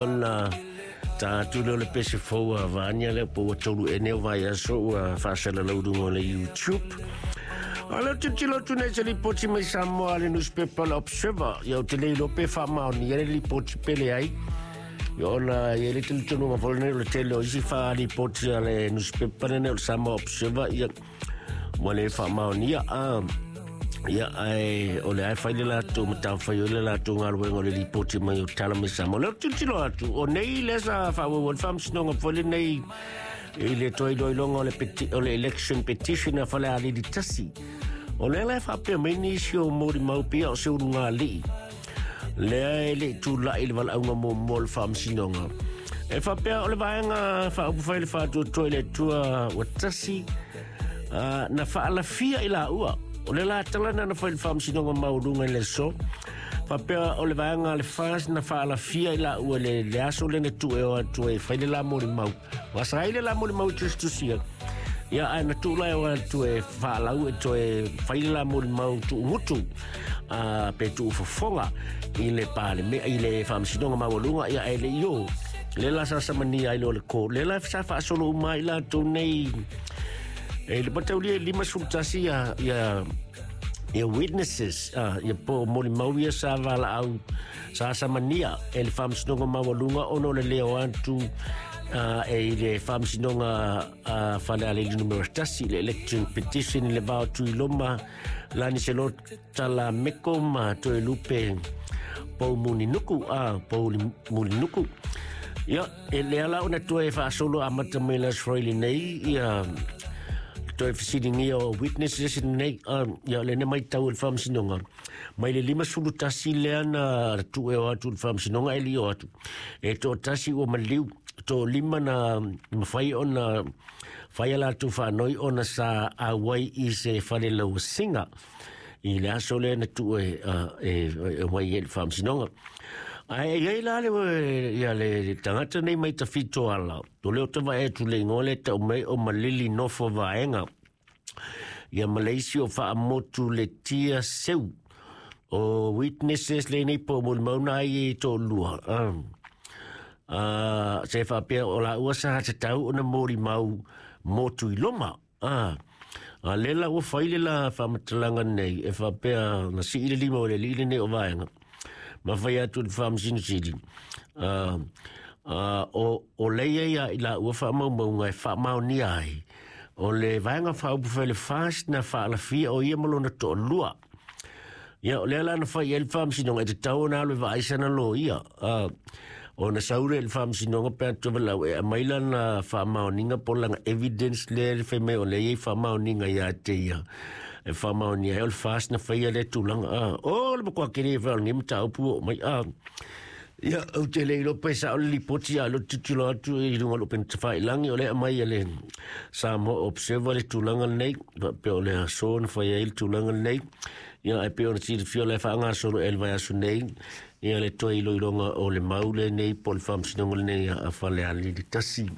Ona ta atu lea o le pese fou a Vania lea po ua tolu ea nei o vaiaso ua faasalalau i luga o le YouTube. A lea ou tilotilo atu nei i se lipoti mai Samoa a le newspaper le Observer. Ia ou te le iloa pe faamaonia le lipoti pe leai. Ia ona e i ai le talitonuga foi lenei o le tele o isi faalipoti a le newspaper lenei o le Samoa Observer ia ua le faamaonia a ia ae o le a e fai le latou matafaioi le latou galuega o le lipoti mai o tala mai Samoa. O lea ou te tilotilo atu, o nei lea sa faaauau ai le faamasinoga foi lenei i le toe iloiloga o le, o le election petition a Falealili 1. O lea la e faapea mai nisi o molimau pia o se ulugalii lea e le i tulai i le valaauga muamua o le faamasinoga. E faapea o le vaega faaupufai le faatuatua i le Atua ua tasi na faalafia i laua. O le la tala na na fai i le faamasinoga maualuga i le aso. Faapea o le vaega a le FAS na faalafia i laua le, le aso lea na tuu e o atu ai e fai le la molimau. Ua sa ai le la molimau i tusitusia. Ia, ae na tuu la e o atu e faalau e toe fai le la molimau tuugutu pe tuufofoga i le paleme, i le faamasinoga maualuga, ia ae le i o. Le la sa samania ai loa le ko. Le la sa faasolo uma ai latou nei e le mataulia i 51 ia, ia ia witnesses, ia po molimau ia sa valaau sa samania e le faamasinoga maualuga ona o le leo atu e i le faamasinoga Falealili numera 1 le election petition i le vao Tuiloma Lani Selo Talameko ma Toelupe Poumulinuku Poumulinuku. Ia, e lea la ona toe faasolo amata mai le Aso Faraile nei ia toe fesiligia o witnesses nei ia le ne maitau e le faamasinoga mai le 51 lea na tuu e o atu i le faamasinoga e le i o atu e toatasi ua maliu toalima na mafai ona fai a latou faanoi ona sa auai i se fale lauasiga i le aso lea na tuu e, e, e omai ai i le faamasinoga. Ae e i ai la le, ia le tagata nei mai Tafitoala, o lea ou te vaai atu i le igoa lea e tau mai o Malili Nofo Vaega, ia ma le isi o Faamotu Letia Seu, o witnesses lenei po o molimau na ai e toalua. Se faapea o laua sa tatau ona molimau mo Tuiloma. A lea la ua fai le la faamatalaga nei e faapea na sii le lima o le alii lenei o Vaega ma fai atu i le Faamasino Sili o lea ia i laua faamaumauga e faamaonia ai o le vaega faaupufai le FAST na faalafia o ia ma lona toalua. Ia, o lea la na fai i ai le faamasinoga, e tatau ona alu e vaai sana loia. Ona sau lea i le faamasinoga pe a tovelau e aumai lana faamaoniga po o lana evidence lea e fai mai o lea e i ai faamaoniga ia te ia e faamaonia ai o le FAST na faia lea tulaga. O le matua tele foi o lenei mataupu ua oo mai. Ia, ou te le iloa pe sao le lipoti a o lea ou te tilotilo atu i luga o le upega tafailagi o lea e aumai e le Samoa Observer le tulaga lenei, faapea o le aso na fai ai le tulaga lenei. Ia, ae pei ona silafia o la e faagasolo ea i le vaiaso nei ia le toe iloiloga o le mau lenei po o le faamasinoga lenei a Falealili 1.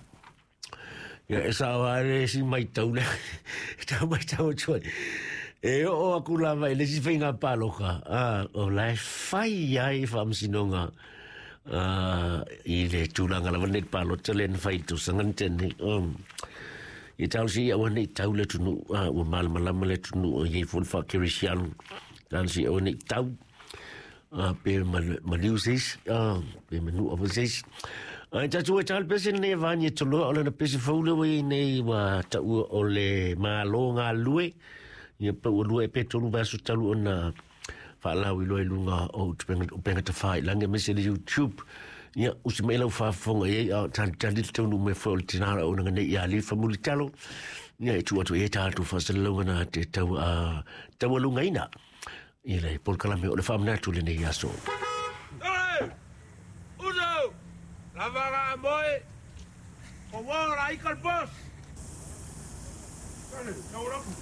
Ia, e sao lava le isi matau lea e tau matau atu ai. E oo aku lava i le isi faiga palota, o la e fai ai faamasinoga i le tulaga lava lenei palota lea na fai i le tausaga na tea nei. Ia talosia ia aua ne i tau le atunuu, ua malamalama le atunuu e i ai foi le faakerisiano. Talosia ia aua ne i tau, pe maliu se isi, pe manua foi se isi. Ae tatou e tala pese lenei e vani e toloa o lana pese fou lea ua i ai nei ua taua o le Malo Galulue. Ia pe ua lua ea pe tolu vaiaso talu ona faalauiloa i luga o upega tafailagi aemaise le YouTube. Ia, usi mai lau faafofoga i ai a o talitali le taunuu mai foi o le tina o auaunaga nei ia Lifa Mulitalo. Ia, e tuu atu i ai tatou faasalalauga na te tau, taualugaina i le polokalame o le faamanatu lenei aso. Hey! Uso! Lava ga moe! Ko wora i kal boss! Kale, tau rapu.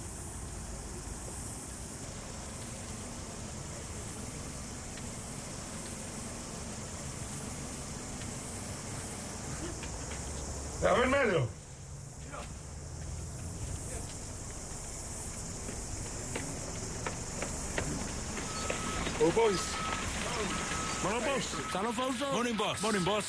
A ver, medio. Oh, boys. Morning, boss. Talofa uso. Morning, boss. Morning, boss.